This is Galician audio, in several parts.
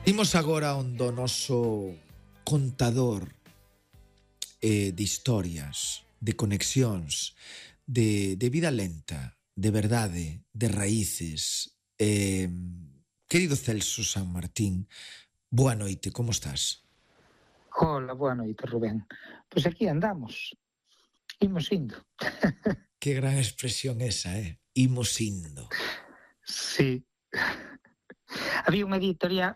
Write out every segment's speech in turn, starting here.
Imos agora onde o noso contador de historias, de conexións, de vida lenta, de verdade, de raíces. Querido Celso San Martín, boa noite, como estás? Hola, boa noite, Rubén. Pois aquí andamos, imos indo. Que gran expresión esa, Imos indo. Sí. Había unha editorial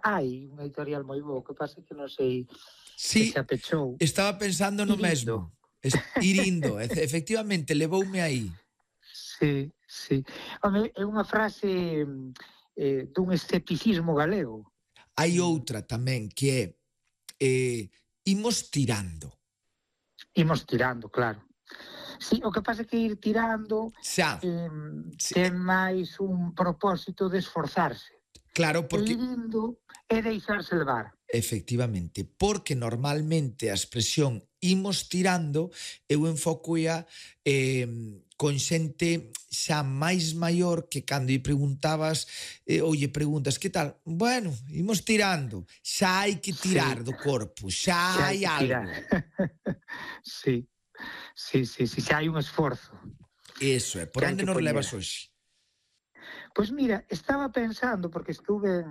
moi boa, que pasa que non sei se Sí, xa pechou. estaba pensando no Ir indo. mesmo. Ir indo, efectivamente, levoume aí. Sí, sí. Home, é unha frase dun escepticismo galego. Hai outra tamén que é imos tirando. Imos tirando, claro. Sí, o que pasa é que ir tirando Xa, ten máis un propósito de esforzarse. claro, E ir porque indo é deixarse levar. efectivamente, porque normalmente a expresión imos tirando eu enfocoia con xente xa máis maior que cando lle preguntabas ou lle preguntas que tal? Bueno, imos tirando. Xa hai que tirar do corpo, xa Xa hai hai que tirar. algo. Sí, xa hai un esforzo. Eso é. Por Que hai onde que nos poñer. levas hoxe? Pois mira, estaba pensando, porque estuve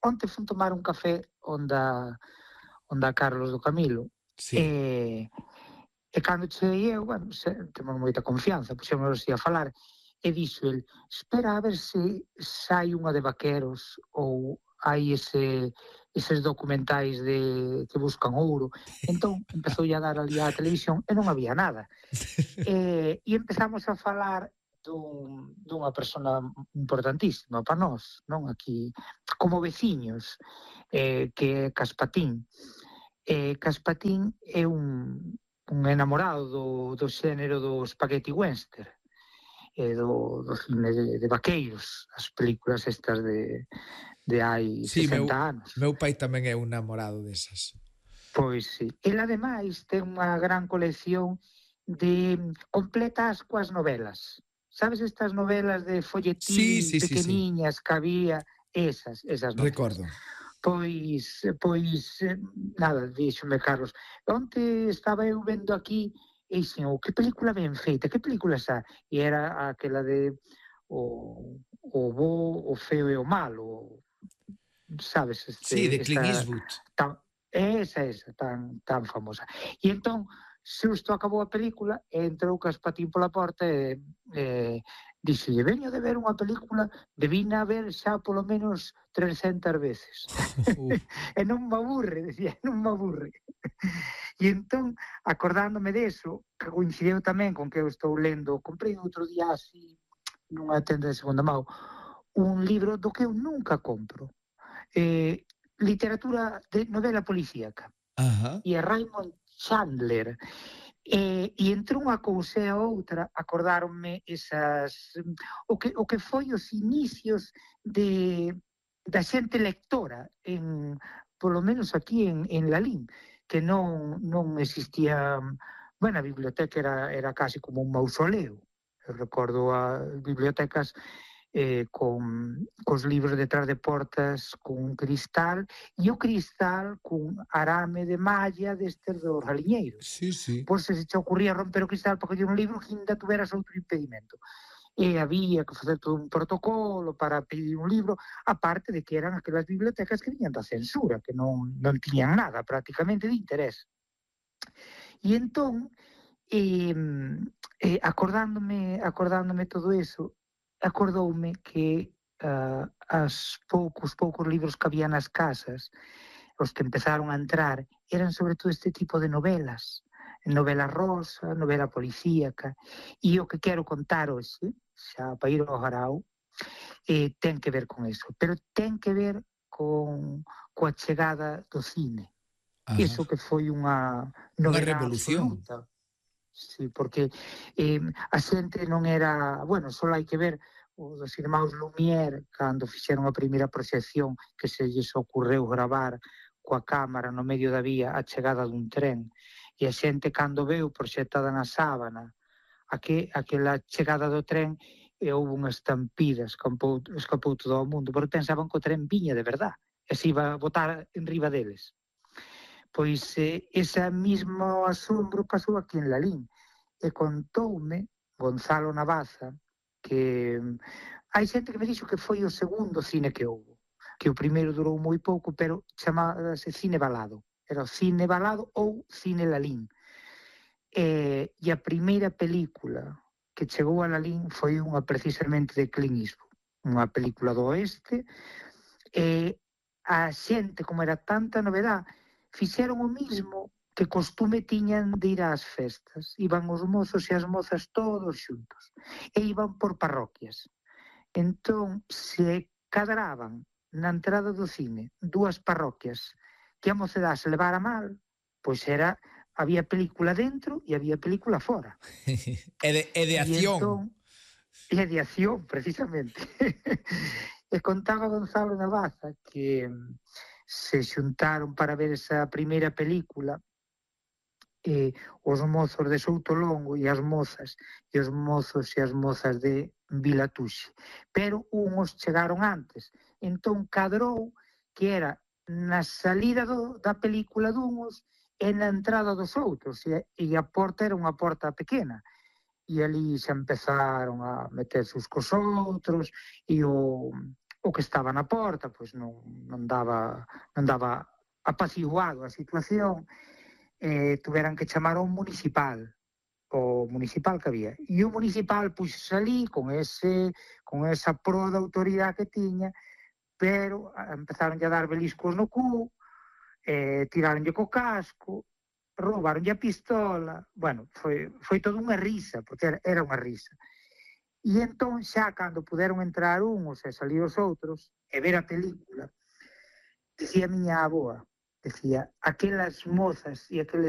onte fun tomar un café onde a Carlos do Camilo, Sí. e cando cheguei eu, bueno, temos moita confianza, puxémonos así a falar, e dixo el, espera a ver se sai unha de vaqueros ou hai eses documentais que buscan ouro. Entón, empezou a dar ali á televisión e non había nada. E empezamos a falar dunha persona importantísima para nós, non aquí, como veciños, que é Caspatín. Caspatín é un enamorado do xénero do spaghetti western, do cine de vaqueiros, as películas estas de hai Sí, 60 anos. meu pai tamén é un namorado desas. Pois sí. El, ademais, ten unha gran colección de completas coas novelas. Sabes estas novelas de folletín Sí. pequeniñas que había? Esas novelas. Recordo. Pois, nada, díxome Carlos, onte estaba eu vendo aquí e dixen, que película ben feita, que película esa? E era aquela de o bo, o feo e o malo, sabes, Sí, de Clint esta Eastwood. esa tan famosa. E entón, xusto acabou a película e entrou Caspatín pola porta e dixolle, veño de ver unha película, debina ver xa polo menos 300 veces. E non me aburre, decía, non me aburre. E entón, acordándome deso, que coincideu tamén con que eu estou lendo, comprei outro día así, nunha tenda de segunda mão, un libro do que eu nunca compro. Literatura de novela policíaca. Ajá. E a Raymond Chandler. E entre unha cousa e a outra acordáronme o que foi os inicios da xente lectora polo menos aquí en Lalín, que non existía, bueno, a biblioteca era casi como un mausoleo. Eu recordo as bibliotecas cos libros detrás de portas con un cristal, e o cristal cun arame de malla destes dos galiñeiros. Sí. Por se te ocurría romper o cristal para coller un libro que ainda tuveras outro impedimento. E había que facer todo un protocolo para pedir un libro, aparte de que eran aquelas bibliotecas que viñan da censura, que non tiñan nada prácticamente de interés. E entón, acordándome todo eso, acordoume que poucos libros que había nas casas, os que empezaron a entrar, eran sobre todo este tipo de novelas, novela rosa, novela policíaca, e o que quero contar hoxe, xa para ir ao garao, ten que ver con eso, pero ten que ver coa chegada do cine. Ajá. Iso que foi unha novedade revolución. absoluta. Sí, porque a xente non era... Bueno, só hai que ver os irmáns Lumière cando fixeron a primeira proxección que se lles ocorreu gravar coa cámara no medio da vía a chegada dun tren, e a xente cando veu proxectada na sábana aquela chegada do tren, e houve unha estampida, escapou todo o mundo, porque pensaban que o tren viña de verdad, se iba a botar en riba deles. Pois ese mismo asombro pasou aquí en Lalín. E contoume Gonzalo Navaza que hai xente que me dixo que foi o segundo cine que houve, que o primeiro durou moi pouco, pero chamábase Cine Balado. Era o Cine Balado ou Cine Lalín. E a primeira película que chegou a Lalín foi unha precisamente de Clint Eastwood, unha película do oeste, e a xente, como era tanta novedade, fixeron o mismo que costume tiñan de ir ás festas. Iban os mozos e as mozas todos xuntos. E iban por parroquias. Entón, se cadraban na entrada do cine dúas parroquias que a mocedade se levara mal, pois había película dentro e había película fora. E de acción. E de acción, precisamente. E contaba Gonzalo Navaza que se xuntaron para ver esa primeira película os mozos de Soutolongo e as mozas e os mozos e as mozas de Vilatuxe. Pero unhos chegaron antes. Entón cadrou que era na salida da película dunhos e na entrada dos outros. E a porta era unha porta pequena. E ali xa empezaron a meterse uns cos outros e o que estaba na porta pois non daba apaciguado a situación. Tuveran que chamar ao municipal que había. E o municipal pois salí con esa proa de autoridade que tiña, pero empezaron a dar beliscos no cu, tiraronlle co casco, roubaronlle a pistola. Bueno, foi toda unha risa, porque era unha risa. E entón, xa cando puderon entrar uns e salir os outros e ver a película, decía a miña avoa, decía, aquelas mozas e aqueles